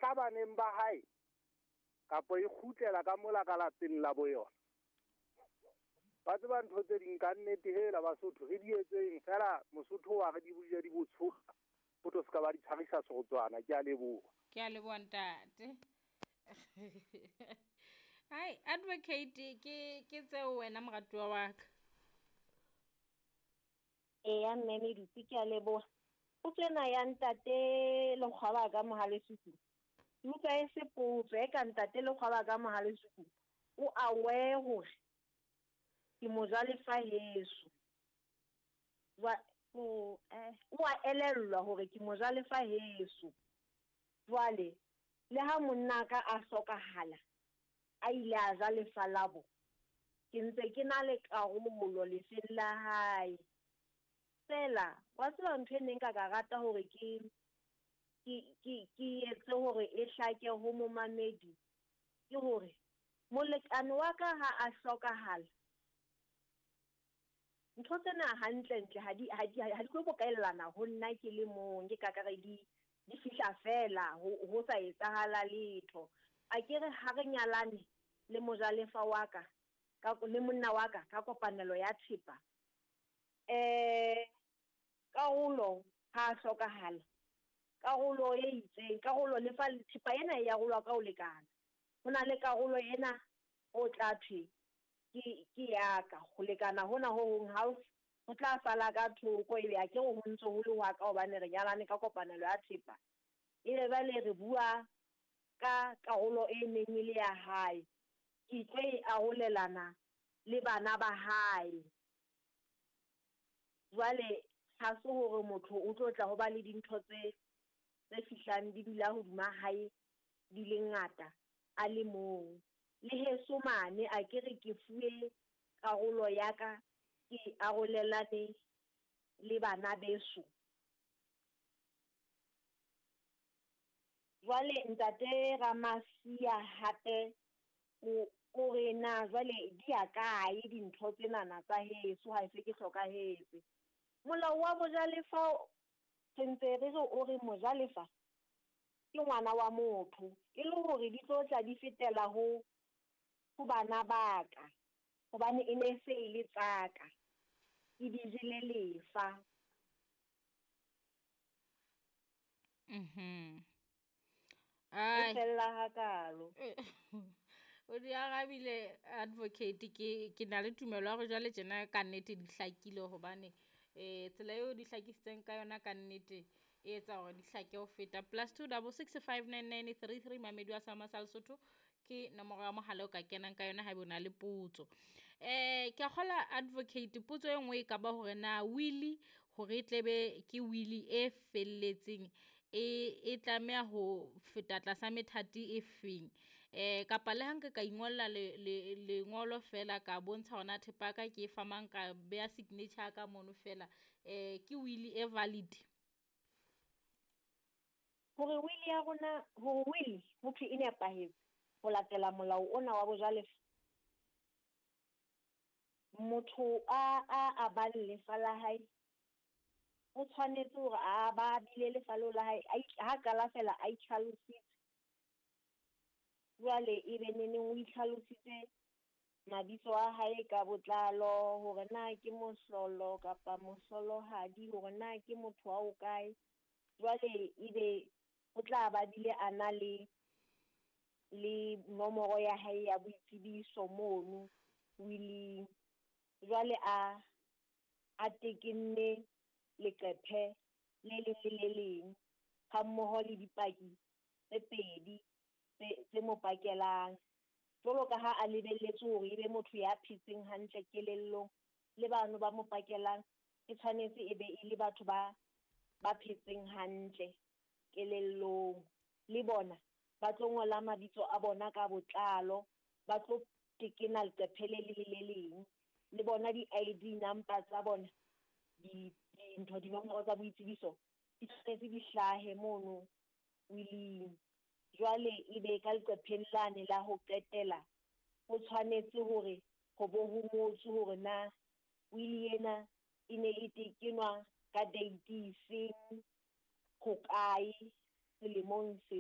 tla baneng ba hae kapa e kgutlela ka mola ka lapeng la bo yona? Ba tseba ntho tse ding ka nnete hela Basotho re di etseng fela Mosotho wa re di buje di botshoka ho tlo ska ba di tshwarisa serotswana. Ke a leboha. Ke a leboha ntate. Hai advocate ke tseo wena moratuwa wa ka. Eya mme Medupi ke a leboha. Potso ena ya ntate Lekgwaba ka Mohalesuku. Ke utlwa e se potso e ka ntate Lekgwaba ka Mohalesuku o aware hore ke mojalefa heso. O a elellwa hore ke mojalefa heso. Jwale le ha monna ka a hlokahala a ile a ja lefa labo, ke ntse ke na le karolo lefeng la hae. Fela wa tseba ntho e neng ka rata hore ke etse hore e hlake ho momamedi ke hore molekane wa ka ha a hlokahala, ntho tsena hantle-ntle ha di tlo bokellana ho nna ke le mong, ke ka kare di fihla fela ho sa etsahala letho. A ke re ha re nyalane le mojalefa wa ka le monna wa ka ka kopanelo ya thepa, karolo ha hlokahala, karolo e itseng, karolo lefa thepa ena e arolwa ka ho lekana. Ho na le karolo ena o tla thwe ke ya ka ho lekana hona ho hong house ho tla sala ka thoko, ebe a ke re ho ntso ho le hwa ka hobane re nyalane ka kopanelo ya thepa. Ebe jwale re bua ka karolo e neng e le ya hae, ke tlo e arolelana le bana ba hae. Jwale ha se hore motho o tlo tla ho ba le dintho tse fihlang di dula hodima hae di le ngata a le mong. Le heso mane a ke re ke fuwe karolo ya ka ke arolelane le bana beso. Jwale ntate Ramasia hape o re na jwale di ya kae dintho tsenana tsa heso ha se ke hlokahetse? Molao wa bojalefa re ntse re re o re mojalefa ke ngwana wa motho, e le hore di tlo tla di fetela ho bana ba ka hobane e ne se e le tsaka, ke di jele lefa. E fella hakalo. O di arabile advocate, ke na le tumelo ya hore jwale tjena ka nnete di hlakile hobane tsela eo di hlakisitseng ka yona ka nnete e etsa hore di hlake ho feta. +2 6 5 9 9 3 3 Mamedi wa Sama sa Lesotho ke nomoro ya mohala o ka kenang ka yona haeba o na le potso. Ke a kgola advocate, potso e nngwe e ka ba hore na wili hore e tlebe ke wili e felletseng e tlameha ho feta tlasa methati e feng? Kapa le ha nka ka ingolla lengolo fela ka bontsha hore na thepa ya ka ke e fa mang, ka beha signature ka mono fela, ke wili e valid? Hore wili ya rona, hore wili ho thwe e nepahetse ho latela molao ona wa bojalefa, motho a abang lefa la hae o tshwanetse hore a ba bile lefa leo la hae ha qala fela a itlhalositse. Jwale ebe neneng o itlhalositse mabitso a hae ka botlalo, hore na ke mohlolo kapa mohlolohadi, hore na ke motho wa ho kae. Jwale ebe o tla ba bile a na le nomoro ya hae ya boitsebiso mono willing. Jwale a tekenne leqephe le leng le le leng ha mmoho le dipaki tse pedi tse mo pakelang. Jwalo ka ha a lebelletse hore ebe motho ya phetseng hantle kelellong, le bano ba mo pakelang e tshwanetse e be e le batho ba phetseng hantle kelellong. Le bona ba tlo ngola mabitso a bona ka botlalo, ba tlo tekena leqephe le leng le le leng, le bona di-ID number tsa bona, dintho dinomoro tsa boitsebiso di tshwanetse di hlahe mono willing. Jwale ebe ka leqepheng lane la ho qetela ho tshwanetse hore ho bo ho ngotswe hore na wili ena e ne e tekenwa ka date efeng, hokae, selemong se.